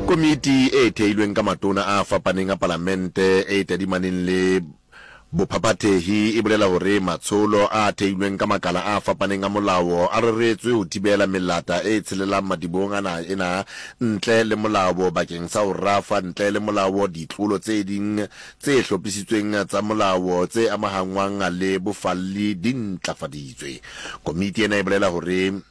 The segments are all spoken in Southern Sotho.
Komiti e theilweng ka matona a fapaneng a palamente e tadimaneng le bophaphathehi e bolela hore matsholo a theilweng ka makala a fapaneng a molao a reretswe ho thibela melata e tshelelang madibohong a naha ena ntle le molao bakeng sa ho rafa ntle le molao ditlolo tse ding tse hlophisitsweng tsa molao tse amahangwang le bofalli di ntlafaditswe. Komiti ena e bolela hore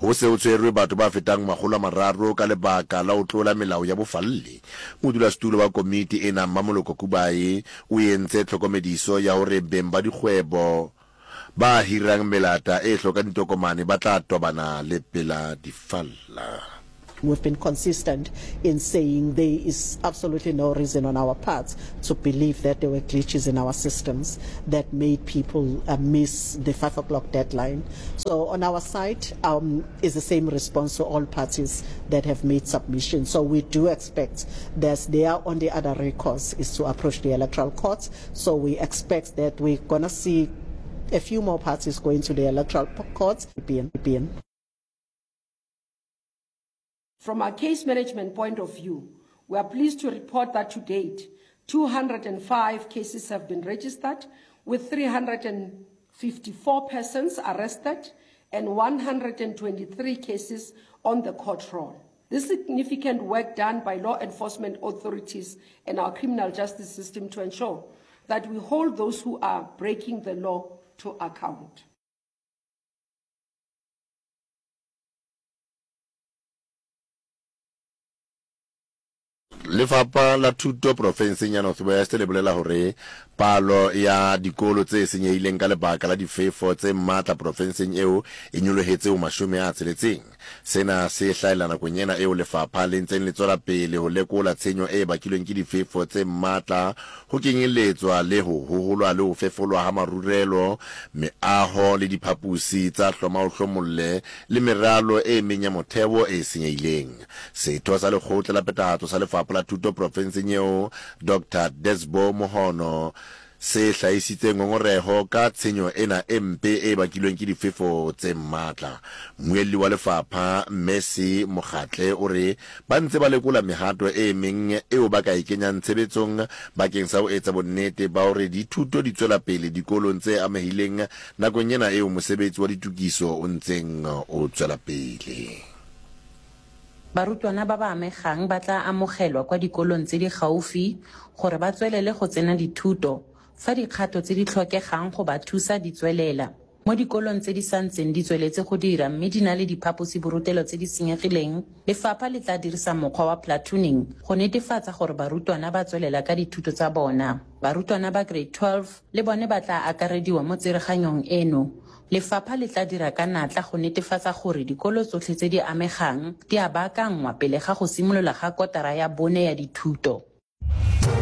Ho se ho tshwerwe batho ba fetang 300 ka lebaka la ho tlola melao ya bofalli. Modulasetulo wa komiti ena, Mmamoloko Kubayi, o entse tlhokomediso ya hore beng ba dikgwebo ba hirang melata e hlokang ditokomane ba tla tobana le pela difalla. We've been consistent in saying there is absolutely no reason on our part to believe that there were glitches in our systems that made people uh, miss the 5 o'clock deadline. So on our side um, is the same response to all parties that have made submissions. So we do expect that their only other recourse is to approach the electoral court. So we expect that we're going to see a few more parties going to the electoral court. BN. From a case management point of view, we are pleased to report that to date, 205 cases have been registered, with 354 persons arrested and 123 cases on the court roll. This significant work done by law enforcement authorities and our criminal justice system to ensure that we hold those who are breaking the law to account. Lefapha la Thuto profenseng ya North West le bolela hore palo ya dikolo tse senyehileng ka lebaka la difefo tse matla profenseng eo e nyolohetse ho 60. Sena se hlahella nakong ena eo lefapha le ntseng le tswela pele ho lekola tshenyo e bakilweng ke difefo tse matla ho kenyelletswa le ho hoholwa le ho fefolwa ha marurelo, meaho le diphaposi tsa hloma-o-hlomolle le meralo e meng ya motheo e senyehileng. Setho sa Lekgotla la Phethahatso sa Lefapha la Thuto profenseng eo, Doctor Desbo Mohono, se hlahisitse ngongoreho ka tshenyo ena e mpe e bakilweng ke difefo tse matla. Mmuelli wa lefapha, Mercy Mokgatle, o re ba ntse ba lekola mehato e meng eo ba ka e kenyang tshebetsong bakeng sa ho etsa bonnete ba hore dithuto di tswela pele dikolong tse amehileng nakong ena eo mosebetsi wa ditokiso o ntseng o tswela pele. Barutwana ba ba amegang ba tla amogelwa kwa dikolong tse di gaufi gore ba tswelele go tsena dithuto fa dikgato tse di tlhokegang go ba thusa di tswelela. Mo dikolong tse di santseng di tsweletse go dira mme di na le diphaposiborutelo tse di senyegileng, lefapha le tla dirisa mokgwa wa platooning go netefatsa gore barutwana ba tswelela ka dithuto tsa bona. Barutwana ba Grade 12 le bone ba tla akarediwa mo tsereganyong eno. Lefapha le tla dira ka natla go netefatsa gore dikolo tsotlhe tse di amegang di a baakanngwa pele ga go simolola ga kotara ya bone ya dithuto.